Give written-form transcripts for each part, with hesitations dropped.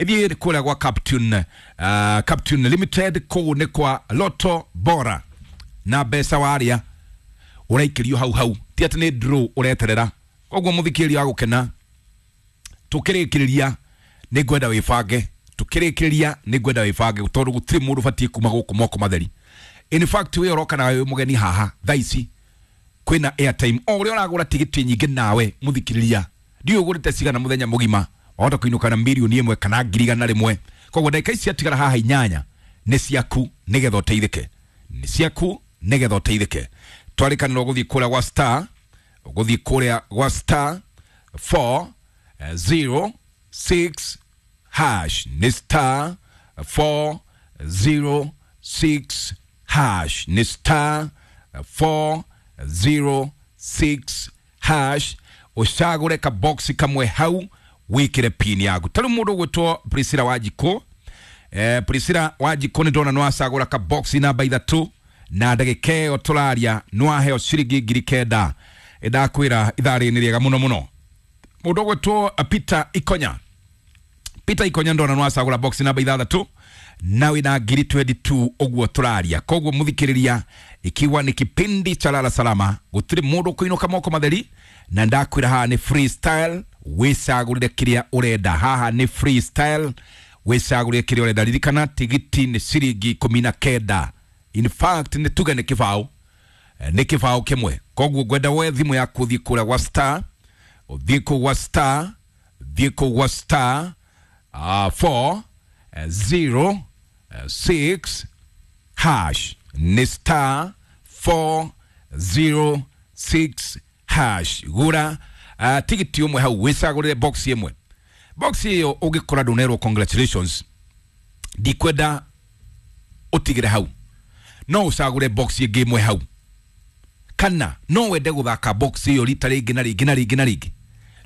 Ithiĩ kũrĩa gwa Captain, Captain Limited, kũu nĩ kwa Lotto Bora na mbeca warĩa ũraikĩrio hau hau, ti atĩ nĩ draw ũreterera. Koguo mũthikĩrĩria wa gũkena, tũkĩrĩkĩrĩria nĩ ngwenda wĩbange, tũkĩrĩkĩrĩria nĩ ngwenda wĩbange tondũ gũtirĩ mũndũ ũbatiĩ kuma gũkũ moko matheri. In fact, wĩ ũroka na wĩ mũgeni haha thaa ici kwĩna airtime, o ũrĩa ũragũra tigiti nyingĩ nawe mũthikĩrĩria, ndiũĩ ũgũrĩte cigana mũthenya mũgima, wahota kũinũka na 1,000,000 kana 100,000. Koguo ndagĩka ici ciatigara haha 8 nĩ ciaku nĩgetha ũteithĩke, nĩ ciaku nĩgetha ũteithĩke. Twarĩkanĩrwo gũthiĩ kũrĩa gwa star, gũthiĩ kũrĩa gwa star 4 0 6 hash, nĩ star 4 0 6 hash, nĩ star 4 0 6 hash, ũcagũre kaboxi kamwe hau wĩkĩre pin yaku. Ta rĩu mũndũ ũgwĩtwo Priscilla Wanjikũ, Priscilla Wanjikũ nĩ ndona nĩwacagũra kaboxi namba 3 na ndagĩka ĩyo tũraria nĩwaheo ciringi 9,000. Ndakwĩra ithaa rĩrĩ nĩ rĩega mũno mũno. Mũndũ ũgwĩtwo Peter Ikonya, Peter Ikonya ndona nĩwacagũra box namba 6 na wĩna 22,000 ũguo tũraria. Koguo mũthikĩrĩria, ikiwa ni kipindi cha Lala Salama, gũtirĩ mũndũ ũkũinũka moko matheri, na ndakwĩra haha nĩ freestyle, wĩcagũrĩre kĩrĩa ũrenda. Haha nĩ freestyle, wĩcagũrĩre kĩrĩa ũrenda. Ririkana tigiti nĩ ciringi 19, in fact nĩ tuge nĩ kĩbaũ, nĩ kĩbaũ kĩmwe. Koguo ngwenda woe thimũ yaku ũthiĩ kũrĩa gwa star, ũthiĩ kũu gwa star, thiĩ kũu gwa star 4 0 6 hash, nĩ star 4 0 6 hash. Gũra tigiti ũmwe hau wĩcagũrĩre box ĩmwe. Box ĩyo ũngĩkora ndũnerwo congratulations, ndikwenda ũtigĩre hau, no ũcagũre box ĩngĩ ĩmwe hau, kana no wende gũthaka box ĩyo rita rĩngĩ na rĩngĩ na rĩngĩ na rĩngĩ.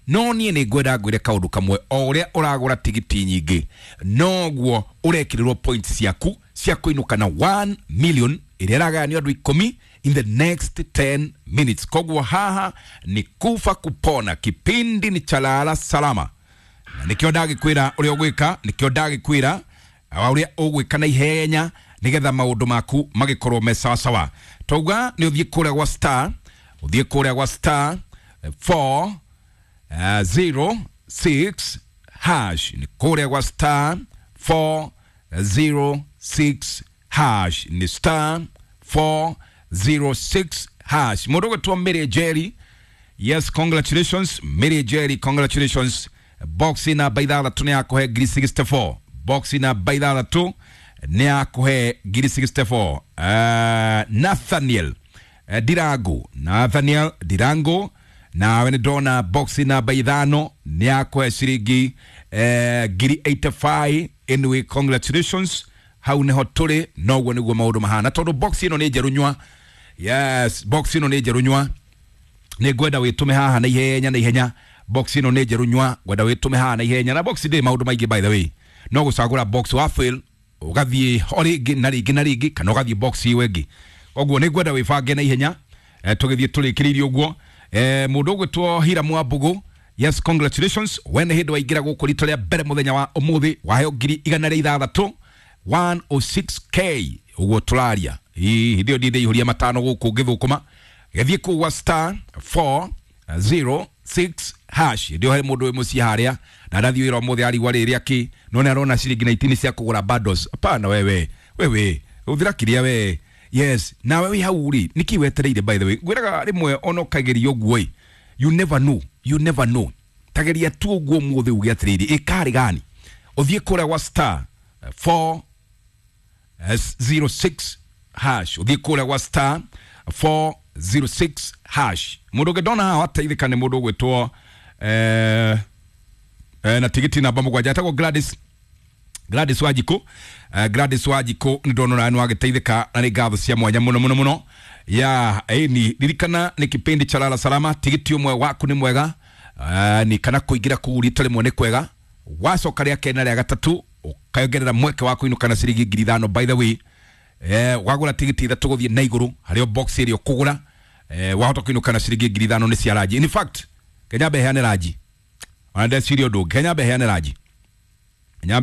No niĩ nĩ ngwenda ngwĩre kaũndũ kamwe, o ũrĩa ũragũra tigiti nyingĩ noguo ũrekĩrĩrwo points ciaku cia kũinũka na 1 million ĩrĩa ĩragayanio andũ 10 in the next 10 minutes. Koguo haha ni kufa kupona, kipindi ni cha Lala Salama, na nĩkĩo ndagĩkwĩra ũrĩa ũgwĩka, nĩkĩo ndagĩkwĩra ũrĩa ũgwĩka na ihenya nĩgetha maũndũ maku magĩkorwo me sawasawa. Twauga nĩ ũthiĩ kũrĩa gwa star, ũthiĩ kũrĩa gwa star 4 0 6 hash, nĩ kũrĩa gwa star 4 0 6 hash, nĩ star 4 0 6 hash. Mũndũ ũgwĩtwo Mary Jerry, yes, congratulations Mary Jerry, congratulations. Box namba 6 nĩ yakũhe 64,000, box namba 6 nĩ yakũhe 64,000. Nathaniel Dirango, Nathaniel Dirango, nawe nĩ ndona box namba 5 nĩ yakũhe ciringi 85,000. Anyway, congratulations, hau nĩho tũrĩ, noguo nĩguo maũndũ mahana, tondũ box ĩno nĩ njerũ nyua. Yes, box ĩno nĩ njerũ nyua, nĩ ngwenda wĩtũme haha na ihenya na ihenya. Box ĩno nĩ njerũ nyua, ngwenda wĩtũme haha na ihenya. Na box ndĩrĩ maũndũ maingĩ by the way, no gũcagũra box wa fail ũgathiĩ ho rĩngĩ na rĩngĩ na rĩngĩ, kana ũgathiĩ box ĩyo ĩngĩ. Koguo nĩ ngwenda wĩbange na ihenya, tũgĩthiĩ tũrĩkĩrĩirie ũguo. Mũndũ ũgwĩtwo Hiramu wa Mbũgũ, yes, congratulations, we nĩ hĩndĩ waingĩra gũkũ rita rĩa mbere mũthenya wa ũmũthĩ, waheo 106,000, 106k ũguo tũraria. Hĩndĩ ĩyo ndindĩihũria 5 gũkũ ngĩthũkũma. Gĩthiĩ kũu gwa star 4 0 6 hash. Hĩndĩ ĩyo harĩ mũndũ wĩ mũciĩ harĩa na ndathiĩ wĩra ũmũthĩ arigwa rĩrĩ akĩ, no nĩ arona ciringi 19 cia kũgũra bundles. Hapana wewe, wewe ũthira kĩrĩa we. Yes, nawe wĩ hau rĩ, nĩkĩ wetereire by the way? Ngwĩraga rĩmwe ona ũkageria ũguo ĩ, you never know, you never know. Tageria tu ũguo ũmũthĩ uge atĩrĩrĩ, ĩkarĩ gani? Ũthiĩ kũrĩa gwa star 4 0 6 hash, ũthiĩ kũrĩa gwa star 4 0 6 hash. Mũndũ ũngĩ ndona haha wateithĩka nĩ mũndũ ũgwĩtwo na tigiti namba 7 etagwo Gladys, Gladys Wanjikũ. Gladys Wanjikũ nĩ ndona ũrĩa nĩwagĩteithĩka na nĩ ngatho cia mwanya mũno mũno mũno. Ya ĩni ririkana nĩ kipindi cha Lala Salama, tigiti ũmwe waku nĩ mwega, ni kana kũingĩra kũu rita rĩmwe nĩ kwega, wacoka rĩa kerĩ na rĩa gatatũ ũkayongerera mweke wa kũinũka na ciringi 5,000. By the way, wagũra tigiti 3 gũthiĩ na igũrũ harĩ o box ĩrĩa ũkũgũra, wahota kũinũka na ciringi 5,000 nĩ cia ranji. In fact, Kenya mbeheane ranji, ona ndeciria ũndũ, Kenya mbeheane ranji. Nyambe.